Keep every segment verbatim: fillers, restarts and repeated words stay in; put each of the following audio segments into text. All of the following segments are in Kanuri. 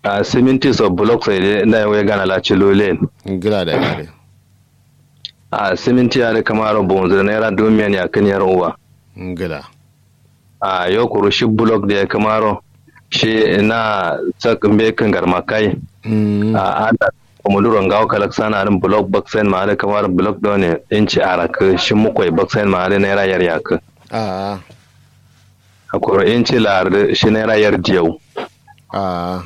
Ahh siminti so bulok so ye de ndai wai gana la cilu leyin. Ngla dai adǝ. Ahh siminti adǝ kǝmaro buwunzǝ dǝ naira duwu miyan yakkǝn yar uwa. Ngla. Ahh yo kuru shi bulok dǝ ye kǝmaro shi na sak mbeyi kǝngar makkai. Ahh adǝ kumuduro ngawo kalaksana adǝn bulok baksayin ma adǝ kǝmaro bulok done inci arakkǝ shi mukko ye baksayin ma adǝ naira yar yakkǝ. Ahh. Kuru inci laar dǝ shi naira yar diyau. Ahh.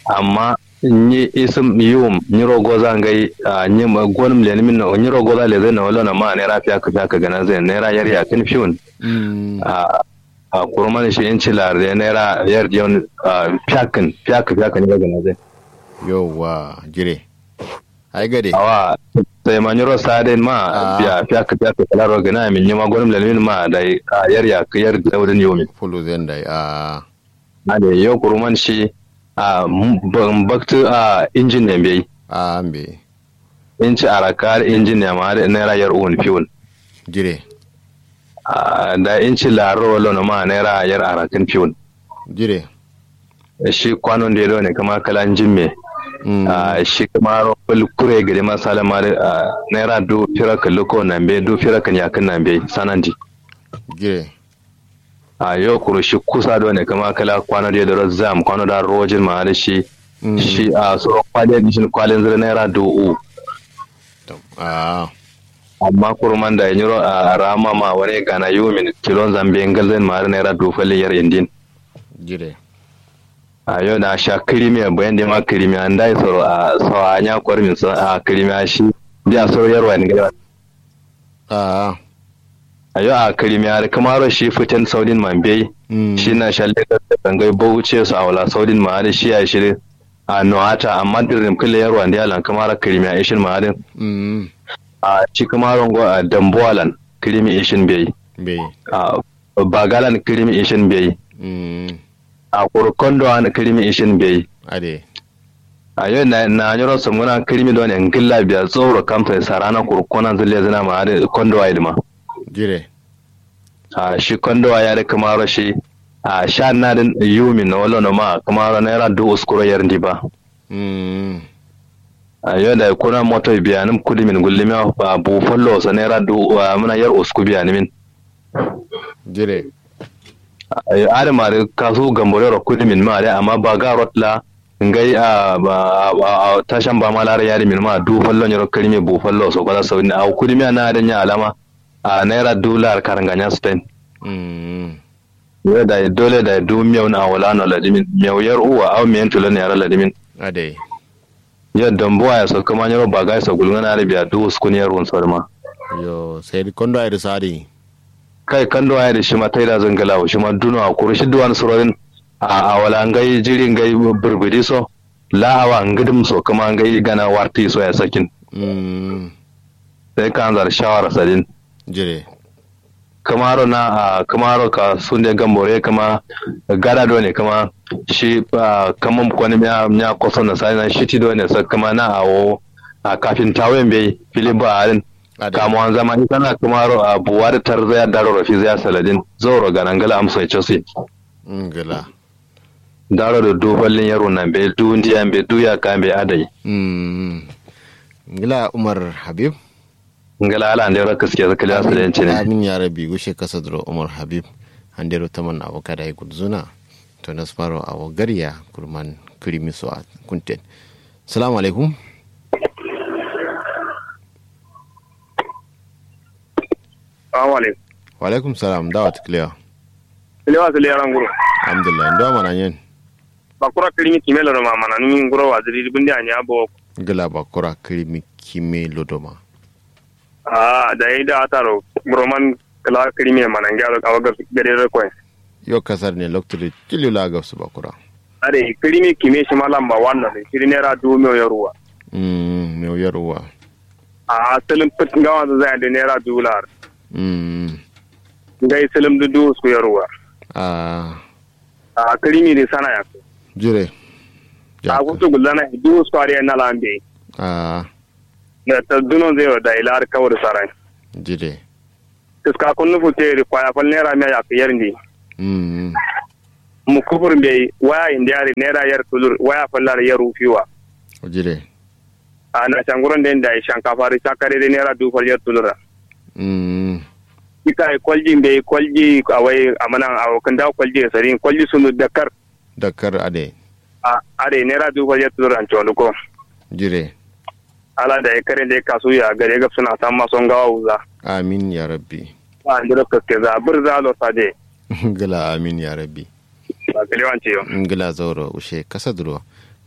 Amma nyi isǝm yiwum nyiro goza ngai ahh nyi gonǝm lenǝmin no nyiro goza lezain no wallono ma naira fiyakkǝ fiyakkǝ gǝnanzain naira yar yakkǝn fiwun. Ahh. Ahh kuruman shi inci laar dǝ ye naira yar diyaun. Ahh fiyakkǝn fiyakkǝ fiyakkǝ nyiro gǝnanzain. Yauwa jire. Ai gade. Awa. Sai ma nyiro sa'adain ma biya fiyakkǝ fiyakkǝ kǝlaro gǝna min nyima gonǝm lenǝmin ma dai. Ahh yar yakkǝ yar diyau dǝn yiwumin. Fuluzain dai ahh. Ade yo kuruman shi. Ahh mbaktǝ ahh injin ne mbeyi. Ahh mbeyi. Inci arakkǝ adǝ injin ne ma adǝ naira yar uwun fiwun. Jire. Ahh da inci laarro wallono ma naira yar arakkǝn fiwun. Jire. Shi kwanon dǝ ye done kǝma kǝla njimme. Ahh shi kǝmaro fǝl kure gade ma salama adǝ ahh naira duwu firak kǝllukko nambe duwu firak kǝn yakkǝn nambe sanandi. Jire. Ahh yo kuru shi kusa done kǝma kǝla kwano dǝ ye doro zam kwano da rojin ma adǝ shi. Shi ahh suro kwale dǝ shin kwalinzǝ dǝ naira duwu uwu. Ahh. Amma kuruman dai nyiro ahh rama ma wane gana yumin kilonza mbeyi ngalzain ma adǝ naira duwu fallin yar indin. Jire. Ahh yo na sha kǝrimiya bayan dǝ ma kǝrimiya ndai soro ahh sawa nya kormin so ahh kǝrimiya shi. Biya soro yarwa yen ngalzain. Ahh. Ayo ahh kǝrimiya adǝ kǝmaro shi fǝten saudin ma mbeyi. Shi na sha legas da kangai bauchi ye so awala saudin ma adǝ shi yayi shi dǝ. Ahh no'ata amma dǝrrim kǝlle yarwa nde alan kǝmaro kǝrimiya ishin ma adǝ. Ahh shi kǝmaro ngo ahh dambuwa lan kǝrimi ishin mbeyi. Mbeyi. Ahh baga lan kǝrimi ishin mbeyi. Ahh kuru kondo wa kǝrimi ishin mbeyi. Ade. Ahh yo na nyiro sǝmgǝna kǝrimi done ngǝlla biya zauro kamso ye sarana kuru konanzǝ lezǝna ma adǝ kondo wa ye dǝ ma. Jire. Ahh shi kondo wa ye adǝ kǝmaro shi ahh sha na dǝn yumin no wallono ma kǝmaro naira duwu uskuro yar ndi ba. Ahh yo dai kuna moto ye biyanǝm kudumin gullimiya ahh buwu fallo so naira duwu ahh muna yar usku biyanǝmin. Jire. Adǝ ma dǝ kasu gambore ro kudumin ma dǝ amma baga rot la ngai ahh tashan bama la dǝ yadǝmin ma duwu fallo nyiro kǝrimi buwu fallo so kala saudin awo kudumiya na adǝ nya alama. Ahh naira duwu lar karanga nya sutain. Yo dai dole dai duwu mewun awala no ladimin mewu yar uwa au meyin tulon yara ladimin. Adai. Yo dambuwa ye so kǝma nyiro baga ye so gulgǝna adǝ biya duwu uskun yar wun so dǝma. Yo sai dǝ kondo ayi dǝ sa'adǝ. Kai kondo ayi dǝ shima taidazǝ ngǝlawo shima duno akuru shi duwan surodin. Ahh awala ngai jiri ngai bǝrbǝdi so. La awa ngǝdǝm so kǝma ngai gana wartǝ so yayi sakin. Sai kanzar shawara sadin. Jire. Kǝmaro na ahh kǝmaro kasunde gambore kǝma gada done kǝma shi ahh kamam konǝmiya nya koso nasarina shiti done sak kǝma na awo. Ahh kafintawe mbeyi fili ba adǝn. Kamuwanza ma isana kǝmaro ahh buwa dǝ tarzaya daroro fizaya saladin zauro gana ngla amso ye cosi. Ngla. Daro dǝ duwu fallin yarwun na mbeyi duwu ndiya mbeyi duwu yakka mbeyi adai. Ngla umar habib. Ngla ala andero kǝske kǝliya sǝlen cǝne. Amin ya rabbi gushe kasa duro umar habib. Andero taman awo kada ye gulzuna. To nasmaro awo gariya kurman kǝrimi so a kunten. Salamu alaikum. Salamu alaikum. Walaikum salam dawa tǝ kǝlewa. Kǝlewa sǝle yaran guro. Alhamdulillah ndo wa mana nyen. Bakura kǝrimi kime lodo ma mana nǝmi nguro waziri dǝ bǝndi anya bo. Ngla bakura kǝrimi kime lodo ma. Ahh dayi da ataro buroman kǝla kǝrimi ye mana nge alo awo gade dǝ koyen. Yo kasar ne loktu dǝ ciliw la gabsu bakura. Adai kǝrimi kime shima lamba wan no dǝ shiri naira duwu mewu yar uwa. Umm mewu yar uwa. Ahh sǝlǝm fǝt ngawanzǝ zayen dǝ naira duwu lar. Umm. Ngai sǝlǝm dǝ duwu usku yar uwa. Ahh. Ahh kǝrimi dǝ sana yakkǝ. Jire. Ahh futu gulzana ye duwu usku adǝ ye nala mbeyi. Ahh. Nda tardunonzǝ yero dayi la adǝ kawu dǝ saran. Jire. Kǝska kunnu futte ye dǝ kwaya fal naira miya yakkǝ yar ndi. Umm. Mukufur mbeyi waya indi adǝ naira yer tulur waya falla dǝ yer ufiwa. Jire. A na shanguron dai dayi shankafa dǝ shakka dai naira dubu fal yer tulur ra. Mm. Ika ye kwalji mbeyi kwalji awai amanan awo kǝndawo kwalji ye sarin kwalji sunu dakkar. Dakkar adai. A adai naira dubu fal yer tulur ra ncondo ko. Jire. Ala dayi kare dai kasu ya gare gabsuna samma so ngawa wuza. Amin ya rabbi. Ba ndiro kaske za bǝrza lo sade. Ngla amin ya rabbi. Ba kalewan ciyo. Ngla zauro ushe kasa duro.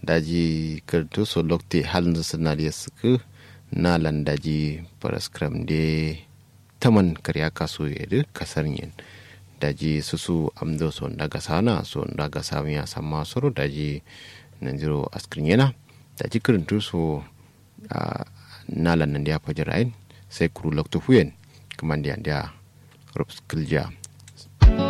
Daji kǝrtu so lokte halnzǝ sǝnariye sǝkǝ. Nalan daji faraskram de taman karya kasu ye dǝ kasarnyen. Daji susu amdo so nda gasana so nda gasawiya samma soro daji nanjiro askǝrnyena. Daji kǝrǝntu so. A nalan nandiya fajir ayin sai kuru loktu fuyen. Kǝmandi andiya rups kǝljiya.